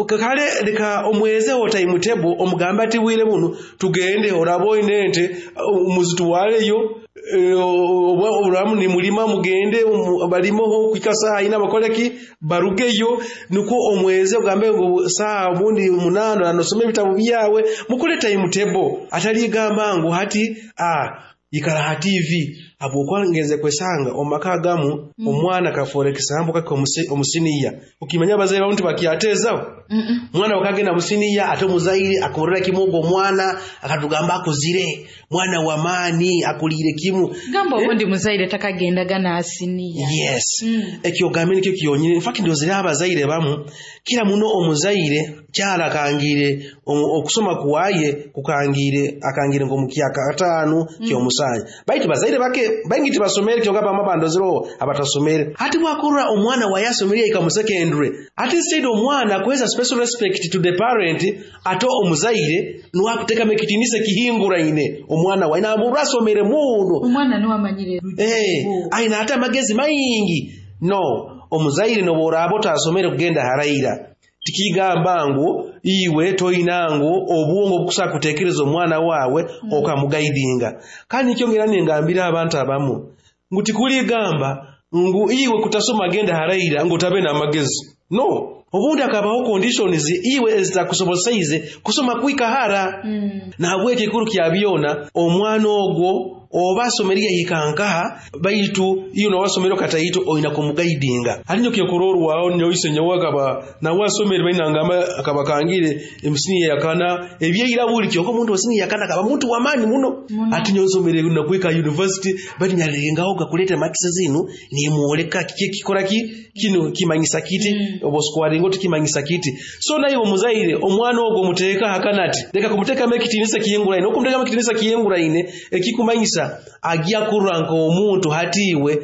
Kale leka omwezeho timetable, omugamba ati bwire buno tugende oraba oine ente muzitwaleyo Oba oburamu nimulima mugende balimoho kuhika saaha ina bakoleki barugeyo, nukwo omweze ogambe ngu saaha obundi munaana nosoma ebitabo byawe, mukole timetable. Ataligamba ngu hati ah ikara ha T V habwokuba ngenze kwesanga omaka agamu mm. Omwana kafoora ekisambo kake omusiniya, ukimanya abazaire bamu tibakyateezaho. Mwana wakagenda musiniya ate omuzaire akorera kimu ogwo omwana akatugamba akuzire mwana wa maani akuliire kimu. Gamba obundi eh? Muzaire takagendaga n'asiniya. Yes. Mm. Ekyo ogambe nikyo kyonyini. In fact ndozire abazaire bamu kira muno omuzaire kyalakangire okusoma kuwaye kukangire akangire ng'omukyaka ataano mm. Kyomusanya baitu bazaire bake baingi tibasomere kyonka bamwe bandozero abatasomere. Hati bwakurra omwana wayasomere ika mu secondary, ati instead omwana kuweza special respect to the parent ato omuzaire nuwakuteka ekitinisa kihinguraine omwana wa ina murasomere muno omwana niwamanyire eh aina hata magezi maingi. No omuzaire noborabo tasomere kugenda haraira tikigamba ngu iwe toinangu obwongo bukusa kutekereza omwana wawe mm. Okamugaidinga. Kandi nikyongera ningambira abantu abamu ngu tikuligamba ngu iwe kutasoma genda haraira ngu tabe na magezi. No, obundi akabaho conditions iwe ezitakusoboseize kusoma kwikahara. mm. Na habweki ekikuru kya byona omwana ogwo oba asomerye hikankaha baitu iyo nawasomero kataito oina kumugaidinga. Alinyo kyokororwa nyoise nyawakaba nawasomere bainangamba akabakangire emisini yakana ebyeira buli kyoko omuntu osini yakana kaba muntu wa maani muno. Ati nyosomere nakwika university bali nyalengaho gakuleta marks zinu nimuoleka kiki kikora ki kino kimanyisa kiti mm. Obosquaringo tikimanyisa kiti. So naye omuzaire omwana ogwo muteeka hakanati leka kumuteka mekitinisa kiyenguraine okumuteka mekitinisa kiyenguraine ekikumanyisa agiya kuranga omuntu hatiwe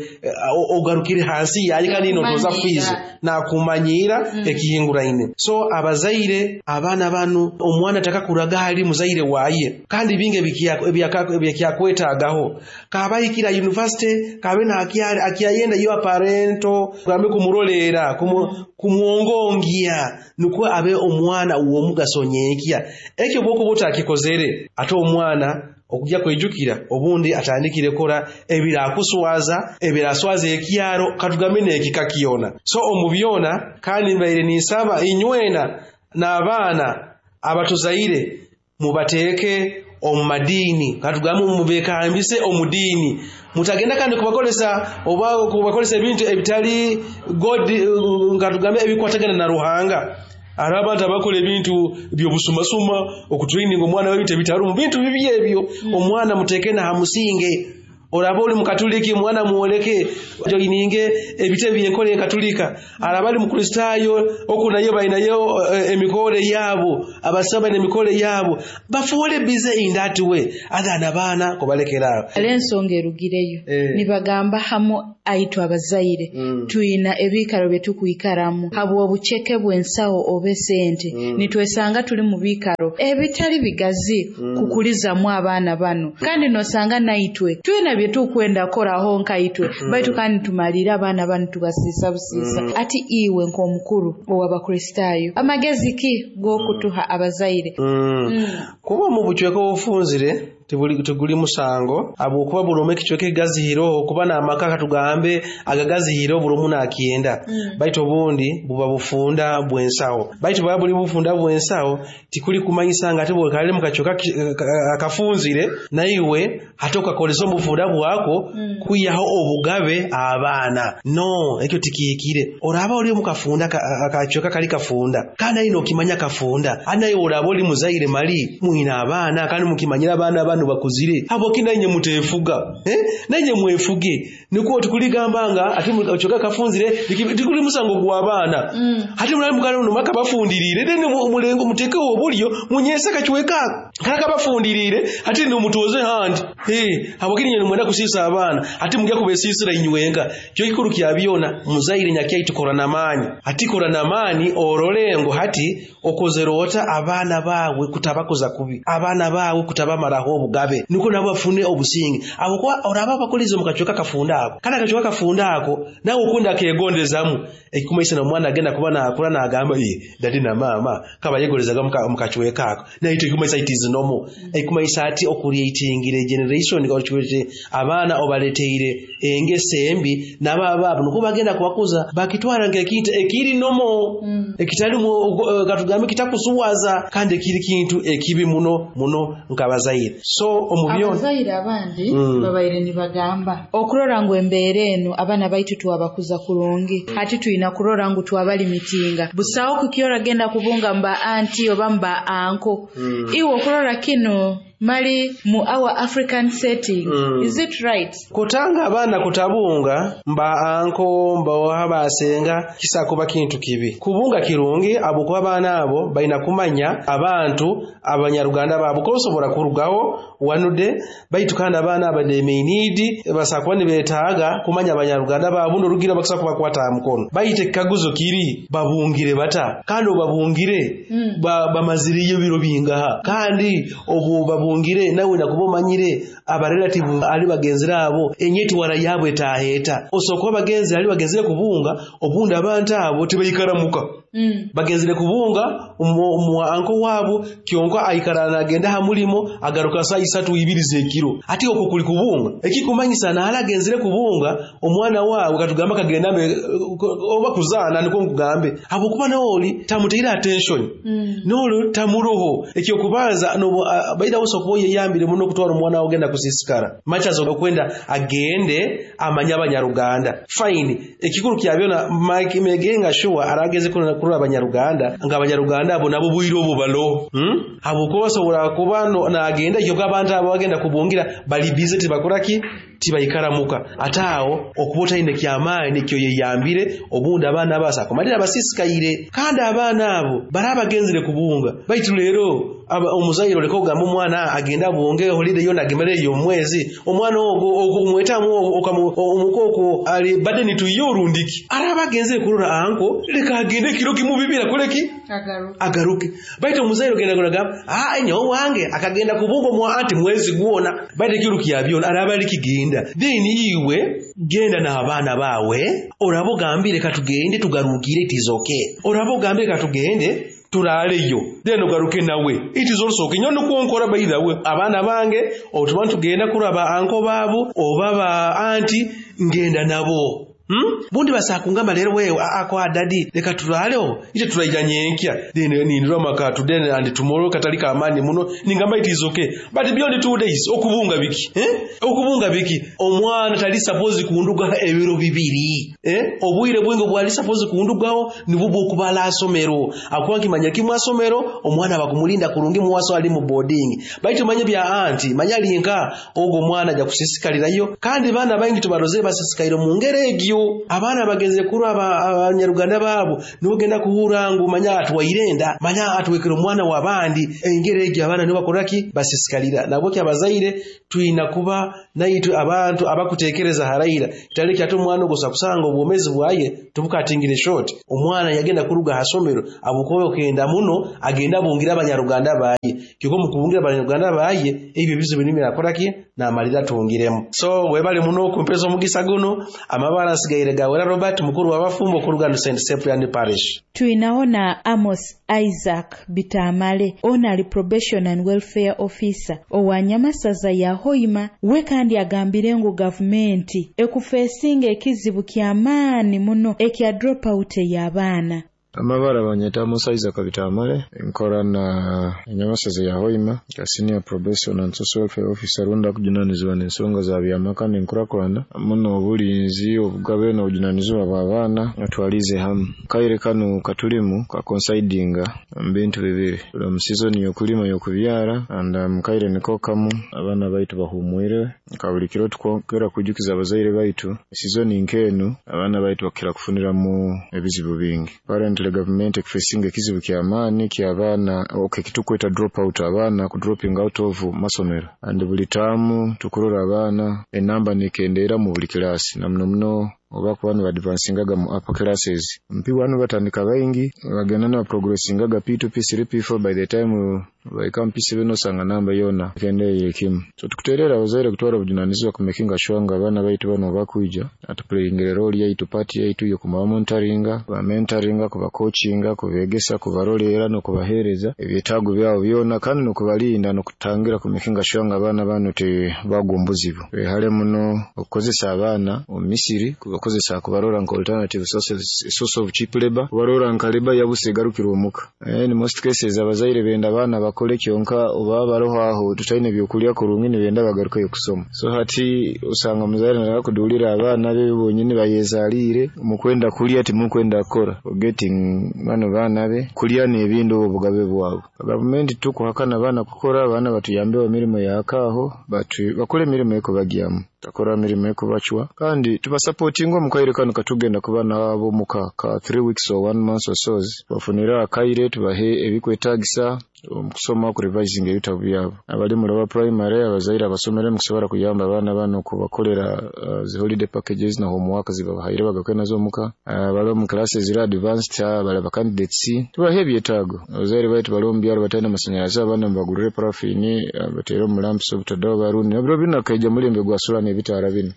ogarukire hansi yalika nino toza fees na kumanyira mm. Ekihinguraine. So abazaire abana banu omwana takakuraga hali muzaire waye kandi binge ebyakwetagaho kabayikira university kabe na akiyayenda yo parento gambe kumurolera kumu, kumuongongia nukwo abe omwana uwo mugaso nyenkya. Ekyo bwoko botakikozere ate omwana okujja kwijukira obundi atandikire kora ebirakuswaza ebiraswaza ekyaro katugambe n'ekika kyona. So omubyona kandi mbaire ninsaba inywena n'abaana abatuzaire mubateeke omu madiini katugambe mubekambise omudiini, mutagenda kandi kubakolesa oba kubakolesa ebintu ebitali God katugambe ebikwatagana na Ruhanga. Ari abantu abakola ebintu by'obusumasuma okutraining omwana w'ebintu ebitarumu bintu bibi ebyo. mm. Omwana muteeke na hamusinge. Oraba oli mukatuliki mwana muoleke joininge ebite byenkole katulika. Araba ali mukristayo okunayo bainayo emikole yabo abasaba nemikole yabo bafuole busy in that way athana bana kubalekera. Alensonga erugireyo eh. Nibagamba hamo aitwa abazaire mm. Tuina ebikaro byetukuikaramu habwo obucheke bwensawo obesente mm. Nitwesanga tuli mu bikaro ebitali bigazi mm. Kukuliza mu abaana bano kandi nosanga naitwe tuina byetukwenda koraho nkaitwe mm. Baitu kandi tumalira abaana bano tubasisa busisa mm. Ati iwe nk'omukuru ow'abakristayo amagezi ki gokutuha abazaire? mm. mm. Kuba mu buchweka obufunzire tibuli tuguli musango abukuba bulome kichweke gazihiro kuba na amaka katugambe agagazihiro bulomu nakienda mm. Baitu obundi buba bufunda bwensawo baitu baba buli bufunda bwensawo tikuli kumanyisa ate bwekale mukachoka akafunzire naiwe hatoka kolesa obufunda bwako mm. Kuyaho obugabe abaana no ekyo tikikire oraba oli mukafunda akachoka kali kafunda kana ino kimanya kafunda anaye oraba oli muzaire mali muina abaana kandi mukimanyira abaana bano bakuzire abo kinanye mutefuga eh nanye mwefuge nikuo tukuligambanga ati ochoka kafunzire tikuli musango gwa abaana mm. Hati mulali mukalo no makabafundirire then mulengo muteke obulyo munyesa kachweka kana kabafundirire hati no mutoze handi eh abo kinanye mwenda kusisa abaana ati mujya kubesisira inywenga cyo kikuru kya byona muzaire nyakyai tukora namani ati kora namani orolengo hati okozerota abaana bawe kutabakoza kubi abaana bawe kutabamaraho obugabe niko nabo bafune obusinge abo kwa oraba bakulize mu kacweka kafunda ako kana kacweka kafunda ako nawe ukunda kegondezamu ekikumaisa na mwana agenda kuba nakula nagamba ye dadi na mama kaba yegolezaga mu kacweka ako naye ekikumaisa it is normal ekikumaisa ati okureatingire generation okiwete abaana obaleteire engese embi nababa nuko bagenda kubakuza bakitwara ngekintu ekiri nomo mm. ekitali uh, katugambe kitakusuwaza kandi ekiri kintu ekibi muno muno nkabazaire so omubyo abazaire abandi mm. babaire nibagamba okurora ngu embere eno abaana baitu twabakuza kurungi mm. hati tuina kurora ngu twabali mitinga busawo kukiora genda kubunga mba anti oba mba anko mm. iwo okurora kino mali mu our African setting mm. is it right kutanga abaana kutabunga mba anko mba wabasenga kisa kuba kintu kibi kubunga kirungi abo kuba abaana abo balina kumanya abantu abanyaruganda babo kosobola kurugaho wanude baitu kandi abaana aba they may need basakuba nibetaaga kumanya abanyaruganda babo n'orugira bakisa kubakwata aha mukono baitu ekikaguzo kiri babungire bata kandi obabungire mm. ba, bamaziriyo biro bingaha kandi obu babungire nawe nakuba omanyire abarelative ali bagenzire abo enyeti wara yabwe etaheta osokuba bagenzi ali bagenzire kubunga obundi abantu abo tibaikaramuka mm. bagenzire kubunga mu anko wabo kyonka aikara nagenda ha mulimo agaruka saa isatu ibiri zekiro ati okwo kuli kubunga ekikumanyisa naala agenzire kubunga omwana wawe katugamba kagenda oba kuzaana niko nkugambe habwokuba naoli tamuteire attention mm. nolo tamuroho ekyokubanza no baida woso kuba yeyambire muno okutwara omwana wawe ogenda kusisikara machazo okwenda agende amanya abanyaruganda fine ekikuru kyabyona Mike Megenga sure arageze kurura abanyaruganda nga abanyaruganda abo nabo bwire obo balo hmm? habwokuba basobola kuba no, nagenda ekyo abantu abo bagenda kubungira bali busy tibakoraki tibaikaramuka ate awo okuba otalina kyamaanyi ekyo yeyambire obundi abaana abasa kumalira abasisikaire kandi abaana abo bari abagenzire kubunga baitu leero omuzaire oleka ogamba omwana agenda abunge holiday yona agemere omwezi omwana ogwo omwetamu omukooko ali badeni tuyo orundiki araba agenzire kurora anko leka agende kiro kimubibira koleki agaruke baitu omuzaire ogenda gamba ah nyowe wange akagenda kubunga omwa anti mwezi gwona baitu ekiro kyabyona araba ali kigenda then iwe genda n'abaana bawe oraba ogambire katugende tugarukire it is okay oraba ogambire katugende turaleyo then ogaruke nawe it is also okay nyono kuonkora by the way abaana bange otuba tugenda kuraba anko babo oba ba anti ngenda nabo Hmm? Bundi basakungamba lero wewe ako adadi leka tulaleho ite tulaija nyenkya then nindira maka today and tomorrow katalika amani muno ningamba it is okay but beyond two days okubunga biki eh okubunga biki omwana tali suppose kunduga ebiro bibiri eh obwire bwingo bwali suppose kundugaho nibubwo okubala asomero akuwa kimanya kimwe asomero omwana bakumulinda kurungi muwaso ali mu boarding baitu manye bya anti manya linka ogo omwana ja kusisikalirayo kandi bana bangi tubaroze basisikaire mu ngere egyo abaana bagenze kurwa abanyaruganda babo nogenda kuhura ngu manya atwairenda manya atwekera omwana wabandi engere egyo abaana nibo bakoraki basisikalira nabo kyabazaire tuina kuba naitu abantu abakutekereza haraira kitali kyatu omwana ogosa kusanga obwomezi bwaye tubukatingire short omwana yagenda kuruga hasomero abukobe okenda muno agenda bungira abanyaruganda baye kyoko mukubungira abanyaruganda baye ebyo bizibu nimira akoraki namalira tungiremu so webale muno kumpeza omugisa guno amabara asigaire gawera Robert mukuru w'abafumbo ku Rugando Saint Cyprian Parish. Tuinaona Amos Isaac Bitamale ono ali probation and welfare officer owa Nyamasaza ya Hoima we kandi agambire ngu gavumenti ekufesinga ekizibu ky'amaani muno ekya dropout y'abaana. Amabara banyeta Amos Isaac Bitamale nkora na Nyamasaza ya Hoima ka senior probation and social welfare officer runda kujunanizibwa n'ensonga za byamaka n'enkurakurana muno obulinzi obugabe n'obujunanizibwa bw'abaana atwalize hamu kaire kano katulimu ka coincidinga mu bintu bibiri tuli mu season y'okulima y'okubyara and um, kaire niko kamu abaana baitu bahumwire ka buli kiro tukwongera kujukiza abazaire baitu season nk'enu abaana baitu bakira kufuniramu ebizibu bingi parent government ekufacinga ekizibu ky'amaani ky'abaana okay kitukweta drop out abaana ku dropping out of masomero and buli taamu tukurora abaana enamba nekendeera mu buli kilasi na muno muno Oba kuba nibadvancingaga mu upper classes. Mu P one batandika baingi, bagenda nibaprogressingaga P two, P three, P four, by the time bahika mu P seven osanga namba yoona ekendeire kimu. So tukuteerera abazaire kutwara obujunanizibwa kumakinga sure nga abaana baitu banu bakwija atuplayingire role yaitu, part yaitu y'okubamonitoringa, kubamentoringa, kubacoachinga, kubeegesa, kubaroleera n'okubaheereza ebyetaago byabo byona, kandi n'okubalinda n'okutangira kumakinga sure nga abaana banu tebagwa omu buzibu. Twehale muno okukozesa abaana omu misiri, kubakozesa kubarora nka alternative sources, source of cheap labor, kubarora nka labor yabusa egarukire omuka. In most cases abazaire benda abaana bakole, kyonka oba baroho aho tutaine byokulya kurungi, nibenda bagarukeyo kusoma. So hati osanga omuzaire naaba kudulira abaana be bonyini bayezaliire, mukwenda kulya timukwenda kukora, forgetting bano baana be kulya n'ebindi obwo bugabe bwabo. Gavumenti tukuhakana abaana kukora, abaana batuyambeho emirimo yakaaho, bakole emirimo ekubagyamu, takora mirimo ekubacwa, kandi tubasupportinga omu kaire kanu katugenda kuba nabo omuka ka three weeks or one month or so, tubafunire akaire tubahe ebikwetagisa omu kusoma, okurevisinga ebitabo byabo. Abali mu lower primary, abazaire abasomere mukusobora kuyamba abaana bano kubakolera uh, zi holiday packages na homework zibabahaire bagaruke nazo omuka. Abali omu classes ziri advanced, abali ba candidates, tubahe ebyetaago. Abazaire baitu bali omu byaro batalina masanyalaze, abaana mubagurire parafini, batere omu lamps obutadaho barundi ebiro binu akaija mulembe gwa solar n'ebitaara binu,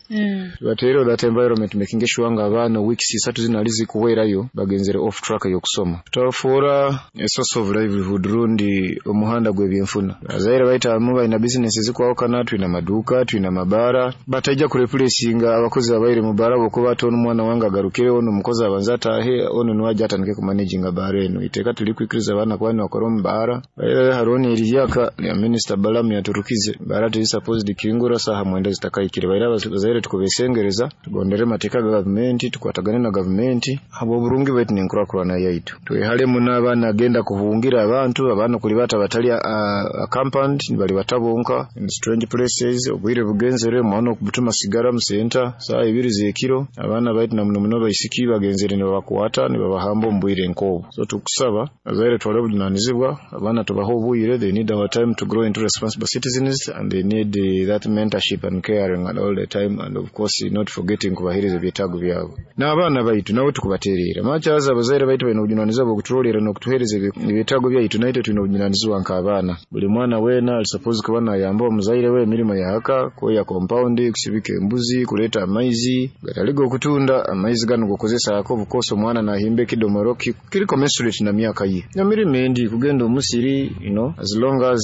tubateereho that environment, making sure nga abaana weeks isatu zino ali zikuhwerayo bagenzere off track y'okusoma. Tutabafuura a source of livelihood rundi omuhanda gw'ebyenfuna. Abazaire baitu abamu balina business zikwawukana, twina amaduuka, twina amabaara, bataija kureplacinga abakozi abaire mu baara bwokuba ati onu omwana wange agarukire, onu omukozi abanze ataahe, onu niwe ajja atandike kumanaginga baara enu. Iteeka tuli kwikiriza abaana kuba nibakora omu baara. Hariho n'erihyaka lya Minisita Balamu yaturukize, baara teri supposed kingura saaha mwenda zitakahikire. Baire abazaire tukubesengereza tugondere amateeka ga gavumenti, tukwatagane na gavumenti habw'oburungi bwaitu n'enkurakurana yaitu. Twehale muno abaana agenda kuhungira abantu, abaana kulibata batali accompanied, nibalibata bonka in strange places. Obwire bugenzere, omwana okubutuma sigara mu center saaha ibiri z'ekiro, abaana baitu na muno muno baisiki bagenzere nibabakwata nibabahamba omu bwire nk'obwo. So tukusaba abazaire twale obujunanizibwa, abaana tubahe obwire. They need our time to grow into responsible citizens and they need uh, that mentorship and caring and all the time, and of course not forgetting kubaheereza ebyetaago byabo. N'abaana baitu nabo tukubateerera makyaza, abazaire baitu balina obujunanizibwa bw'okuturolerera n'okutuheereza ebyetaago byaitu, naitwe twine obujunanizibwa nk'abaana. Buli mwana weena ali supposed kuba nayamba omuzaire we emirimo yahaka, kwoya compound, kusibika embuzi, kuleeta amaizi gatali g'okutunda, amaizi gano gokukozesaako. Of course omwana nahimba ekidomoro kiri commensurate na myaka ye, emirimo endi kugenda omusiri, you know as long as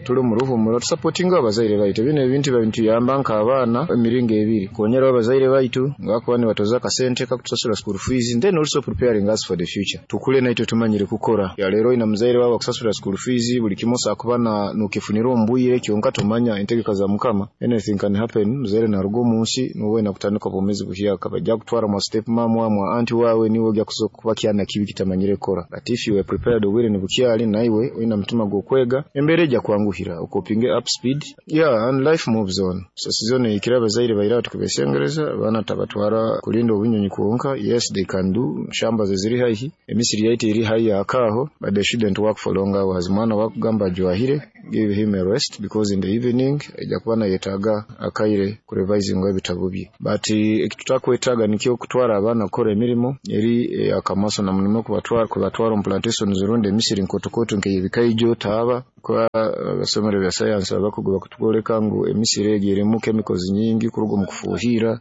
tuli omu ruhumuro tusupportinga abazaire baitu. Bino ebintu bituyamba nk'abaana emiringo ebiri: kukonyeraho abazaire baitu ngakuba nibatoza akasente kakutusasura school fees, then also preparing us for the future, tukule naitwe tumanyire kukora. Ya leero oyina muzaire wawe akusasura school fees, buli kimu osakuba na nukifunira omu bwire, kyonka tomanya entegeka za Mukama, anything can happen. Muzaire naruga omu nsi, nuwe nakutandika obwomeezi buhyaka, bajja kutwara mwa step mom, mwa auntie wawe, niwe ojja kuba kyana kibi kitamanyire kukora. But if you were prepared obwire nibukyali, naiwe oyina mutima gw'okwega, embeera ejja kwanguhira okopinge up speed, yeah, and life moves on. So season eyikire abazaire baire tukubesengereza abaana tabatwara kulinda obunyonyi kwonka. Yes, they can do shamba ze ziri haihi, emisiri yaitu eri haihi akaaho, but they shouldn't work for long hours. Mwana wakugamba ajwahire, give him a rest, because in the evening ejja kuba nayetaaga akaire kurevisinga ebitabo bye. But ekitutakwetaaga nikyo kutwara abaana kukora emirimo eri akamaso, na muno kubatwara kubatwara omu plantations rundi emisiri nkotokoto nk'ey'ebikaijo, taaba, kuba abasomero bya science abakugu bakutwoleka ngu emisiri egi erimu chemicals nyingi kuruga omu kufuuhira.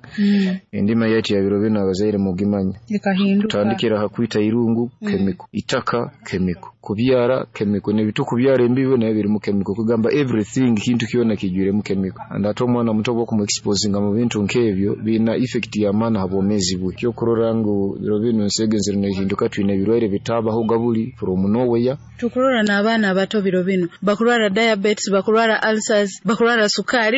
Endima yaitu ya biro binu abazaire mugimanya ekahinduka. Tutandikira ha kwita irungu, chemical, itaka chemical, kubyara chemical, n'ebitukubyara embibo nayo birimu chemical. Kugamba everything, kintu kyona kijwiremu chemical, and ate omwana muto bw'okumuexposinga mu bintu nk'ebyo biina effect y'amaani ha bwomeezi bwe. Kyokurora ngu biro binu ensi egenzere nehinduka, twine ebirwaire bitabaho gabuli from nowhere. Tukurora n'abaana abato biro bino bakurwara diabetes, bakurwara ulcers, bakurwara sukaari.